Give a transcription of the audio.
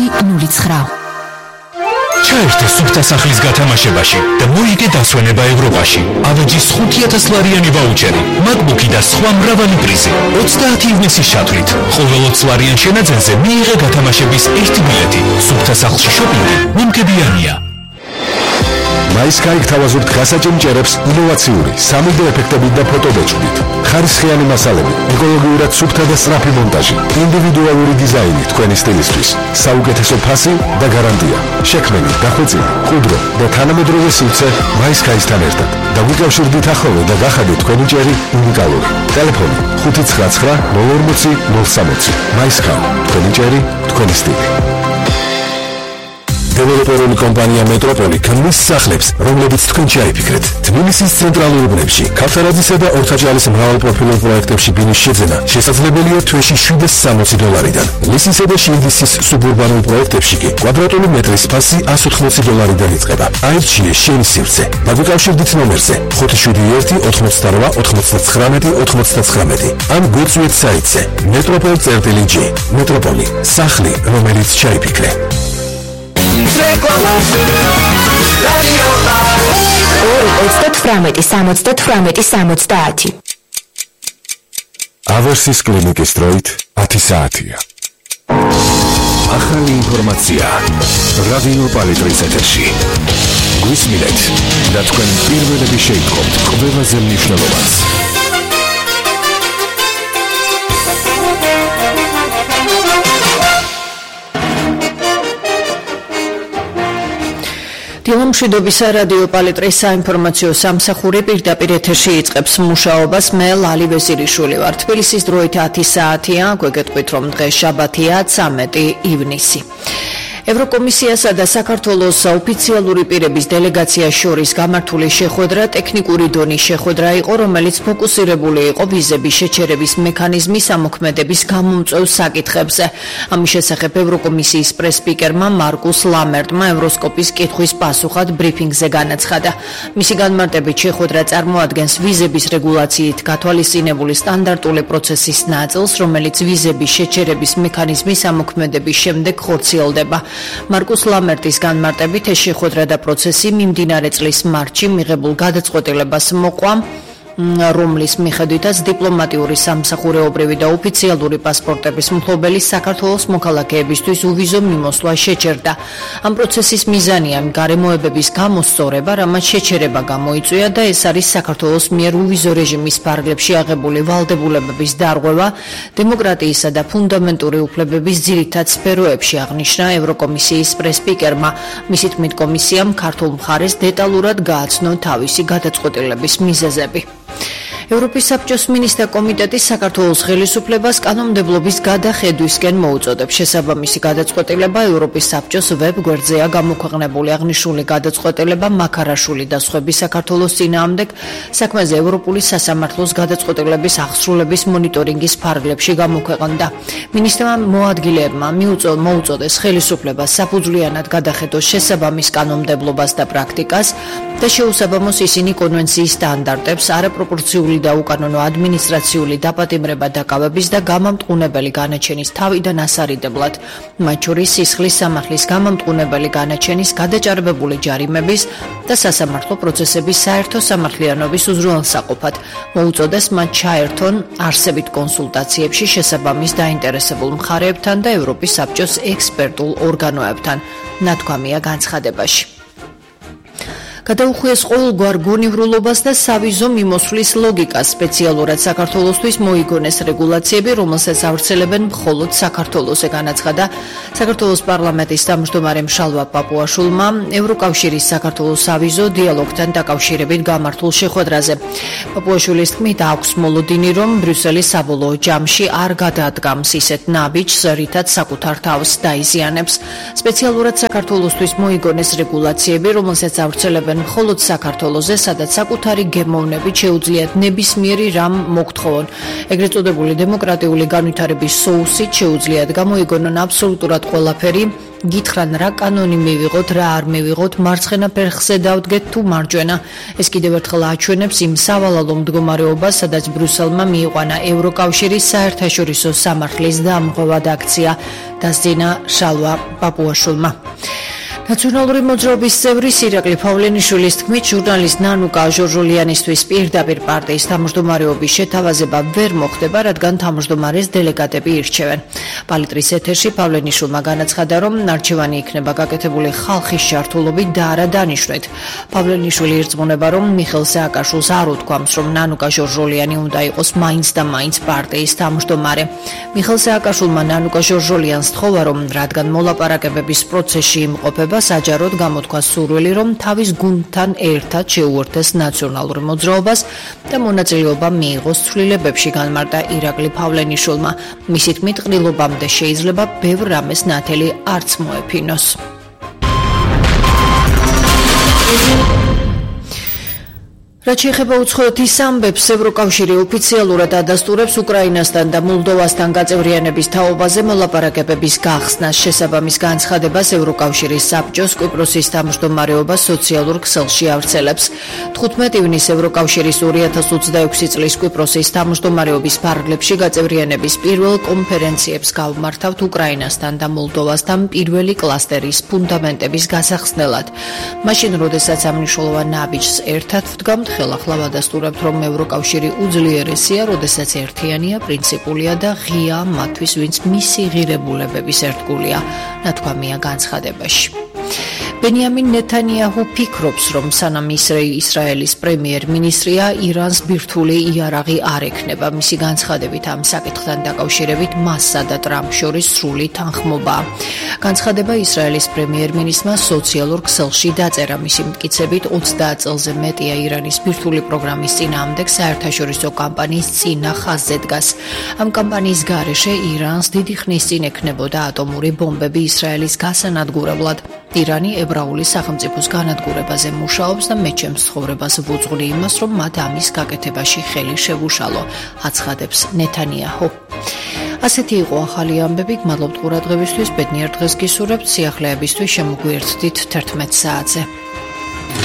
2009. ჩაერთე სუფთა სახლის გათამაშებაში და მოიგე დასვენება ევროპაში. ავეჯის 5,000 ლარიანი ვაუჩერი, MacBook-ი და სხვა მრავალი პრიზი. 30 ივნისის ჩათვლით. ყოველ 20 ლარიან შენაძენზე მიიღე გათამაშების 1 ბილეთი. სუფთა სახლში შოპინგი მომგებიანია. MySky გთავაზობთ გასაჭიმჭერებს ინოვაციური 3D ეფექტებით და ფოტობეჭდით. ხარისხიანი მასალები, ეკოლოგიურად სუფთა და სწრაფი მონტაჟი, ინდივიდუალური დიზაინი თქვენი სტილისთვის, საუკეთესო ფასი და გარანტია. შექმენი, დახვეწილი, მყუდრო და თანამედროვე სივრცე MySky-სთან ერთად. დაგვიკავშირდით ახალო და გახადეთ თქვენი ჭერი უნიკალური. ტელეფონი 599 040 MySky, თქვენი ჭერი, თქვენი სტილი. დეველოპერული კომპანია მეტროპოლი ქმნის სახლებს, რომლებიც თქვენ შეიფიქრეთ. თბილისის ცენტრალურ უბნებში, ქავთარაძისა და ორთაჭალის მრავალპროფილურ პროექტებში ბინის შეძენა შესაძლებელია თვეში $760-დან. ლისისა და შილდისის სუბურბანულ პროექტებში კი კვადრატული მეტრის ფასი $180-დან იწყება. აირჩიე შენი სივრცე. დაგვიკავშირდით ნომერზე 571 88 99 99 ან გვიწვიეთ საიტზე metropol.g. მეტროპოლი, სახლი, რომელიც შეიფიქრე. 2-38-70-70. ავერსის კლინიკის დროით 10 საათია. ახალი ინფორმაცია რადიო პალიტრის ეთერში. გვისმინეთ და თქვენ პირველები შეიტყობთ ყველაზე მნიშვნელოვანს. დილამშვიდობისა რადიო პალიტრის საინფორმაციო სამსახური პირდაპირ ეთერში იწყებს მუშაობას. მე ლალი ვეზირიშვილი ვარ. თბილისის დროით 10 საათია. გვეგეთქვით რომ დღეს შაბათია 13 ივნისი. ევროკომისიასა და საქართველოს ოფიციალური პირების დელეგაციას შორის გამართული შეხვედრა ტექნიკური დონის შეხვედრა იყო, რომელიც ფოკუსირებული იყო ვიზების შეჩერების მექანიზმის ამოქმედების გამომწვევ საკითხებზე. ამის შესახებ ევროკომისიის პრეს-სპიკერმა მარკუს ლამერტმა ევროსკოპის კითხვის პასუხად ბრიფინგზე განაცხადა. მისი განმარტებით შეხვედრა წარმოადგენს ვიზების რეგულაციით გათვალისწინებული სტანდარტული პროცესის ნაწილს, რომელიც ვიზების შეჩერების მექანიზმის ამოქმედების შემდეგ ხორციელდება. მარკუს ლამერტის განმარტებით ეს შეხვედრა და პროცესი მიმდინარე წლის მარტში მიღებულ გადაწყვეტილებას მოყვა, რომლის მიხედვითაც დიპლომატიური, სამსახურეობრივი და ოფიციალური პასპორტების მფლობელი საქართველოს მოქალაქეებისთვის უვიზო მიმოსვლა შეჩერდა. ამ პროცესის მიზანია გარემოებების გამოსწორება, რამაც შეჩერება გამოიწვია და ეს არის საქართველოს მიერ უვიზო რეჟიმის ფარგლებში აღებული ვალდებულებების დარღვევა დემოკრატიისა და ფუნდამენტური უფლებების ძირითად სფეროებში, აღნიშნა ევროკომისიის პრეს-სპიკერმა. მისი თქმით, კომისიამ ქართულ მხარეს დეტალურად გააცნო თავისი გადაწყვეტილების მიზეზები. ევროპის საბჭოს მინისტრთა კომიტეტი საქართველოს ხელისუფლებას კანონმდებლობის გადახედვისკენ მოუწოდებს. შესაბამისი გადაწყვეტილება ევროპის საბჭოს ვებ-გვერდზეა გამოქვეყნებული. აღნიშნული გადაწყვეტილება მაქარაშვილი და სხვების საქართველოს წინააღმდეგ საქმეზე ევროპული სასამართლოს გადაწყვეტილების აღსრულების მონიტორინგის ფარგლებში გამოქვეყნდა. მინისტრმა მოადგილეებმა მოუწოდეს ხელისუფლებას საფუძვლიანად გადახედოს შესაბამის კანონმდებლობას და პრაქტიკას და შეუსაბამოს ისინი კონვენციის სტანდარტებს, არაპროპორციული და უკანონო ადმინისტრაციული დაპატიმრება დაკავების და გამამტყუნებელი განაჩენის თავიდან ასარიდებლად, მათ შორის სისხლის სამართლის გამამტყუნებელი განაჩენის გადაჭარბებული ჯარიმების და სასამართლო პროცესების საერთო სამართლიანობის უზრუნველსაყოფად. მოუწოდეს მათ ჩაერთონ არსებით კონსულტაციებში შესაბამის დაინტერესებულ მხარეებთან და ევროპის საბჭოს ექსპერტულ ორგანოებთან, ნათქვამია განცხადებაში. გადაუხვიეს ყოველგვარ გონივრულობას და სავიზო მიმოსვლის ლოგიკას. სპეციალურად საქართველოსთვის მოიგონეს რეგულაციები, რომელსაც ავრცელებენ მხოლოდ საქართველოს, განაცხადა საქართველოს პარლამენტის თავმჯდომარე მშალვა პაპუაშვილმა ევროკავშირის საქართველოს სავიზო დიალოგთან დაკავშირებით გამართულ შეხვედრაზე. პაპუაშვილის თქმით, აქვს მოლოდინი, რომ ბრიუსელი საბოლოო ჯამში არ გადაადგამს ისეთ ნაბიჯს, რითაც საკუთარ თავს დაიზიანებს. სპეციალურად საქართველოსთვის მოიგონეს რეგულაციები, რომელსაც ავრცელებენ მხოლოდ საქართველოზე, სადაც საკუთარი გემოვნებით შეუძლიათ ნებისმიერი რამ მოგთხოვონ. ეგრეთ წოდებული დემოკრატიული განვითარების соუსით შეუძლიათ გამოიგონონ აბსოლუტურად ყველაფერი გითხრან რა კანონი მივიღოთ, რა არ მივიღოთ, მარცხენა ფერხზე დავდგეთ თუ მარჯვენა. ეს კიდევ ერთხელ აჩვენებს იმ სავალალო მდგომარეობას, სადაც ბრიუსელმა მიიყვანა ევროკავშირის საერთაშორისო სამართლის დამღვრად აქცია, დასძინა შალვა პაპუაშვილმა. ნაციონალური მოძრაობის წევრი ირაკლი ფავლენიშვილის თქმით, ჟურნალისტ ნანუკა ჟორჟოლიანისთვის პირდაპირ პარტიის თავმჯდომარეობის შეთავაზება ვერ მოხდება, რადგან თავმჯდომარეს დელეგატები ირჩევენ. პალიტრის ეთერში ფავლენიშვილმა განაცხადა, რომ არჩევანი იქნება გაკეთებული ხალხის ჩართულობით და არა დანიშვნით. ფავლენიშვილი ირწმუნება, რომ მიხეილ სააკაშვილს არ უთქვამს, რომ ნანუკა ჟორჟოლიანი უნდა იყოს მაინც და მაინც პარტიის თავმჯდომარე. მიხეილ სააკაშვილმა ნანუკა ჟორჟოლიანს თხოვა, რომ რადგან მოლაპარაკებების პროცესში იმყოფება, საჯაროდ გამოთქვა სურვილი, რომ თავის გუნდთან ერთად შეუერთდეს ნაციონალურ მოძრაობას და მონაწილეობა მიიღოს ცვლილებებში, განმარტა ირაკლი ფავლენიშვილმა. მისი თქმით, ყრილობამდე შეიძლება ბევრ რამეს ნათელი არც მოეფინოს. რაც შეეხება უცხოეთის ამბებს, ევროკავშირი ოფიციალურად ადასტურებს უკრაინასთან და მოლდოვასთან გაწევრიანების თაობაზე მოლაპარაკებების გახსნას. შესაბამის განცხადებას ევროკავშირის საბჭოს კვიპროსის თავმჯდომარეობა სოციალურ ქსელში ავრცელებს. 15 ივნისს ევროკავშირის 2026 წლის კვიპროსის თავმჯდომარეობის ფარგლებში გაწევრიანების პირველ კონფერენციებს გავმართავთ უკრაინასთან და მოლდოვასთან პირველი კლასტერის ფუნდამენტების გასახსნელად. მაშინ, როდესაც ამ მნიშვნელოვან ნაბიჯს ერთად ვდგამთ, ხელახლა ვადასტურებთ, რომ ევროკავშირი უძლიერესია, როდესაც ერთიანია, პრინციპულია და ღია მათთვის, ვინც მისი ღირებულებების ერთგულია, ნათქვამია განცხადებაში. ბენიამინ ნეთანიაჰუ ფიქრობს, რომ სანამ ისრაელის პრემიერ-მინისტრია, ირანს ბირთვული იარაღი არ ექნება. მისი განცხადებით ამ საკითხთან დაკავშირებით მასსა და ტრამპს შორის სრული თანხმობაა. განცხადება ისრაელის პრემიერ-მინისტრმა სოციალურ ქსელში დაწერა. მისი მტკიცებით 30 წელზე მეტია ირანის ბირთვული პროგრამის წინააღმდეგ საერთაშორისო კამპანიის წინა ხაზზე დგას. ამ კამპანიის გარეშე ირანს დიდი ხნის წინ ექნებოდა ატომური ბომბები ისრაელის გასანადგურებლად. ირანი ებრაული სახელმწიფოს განადგურებაზე მუშაობს და მეჩემს ცხოვრებას ვუძღვნი იმას, რომ მათ ამის გაკეთებაში ხელი შევუშალო, აცხადებს ნეთანიაჰუ. ასეთი იყო ახალი ამბები, გმადლობთ ყურადღებისთვის, ბედნიერ დღეს გისურვებთ, სიახლეებისთვის შემოგვიერთდით 11 საათზე.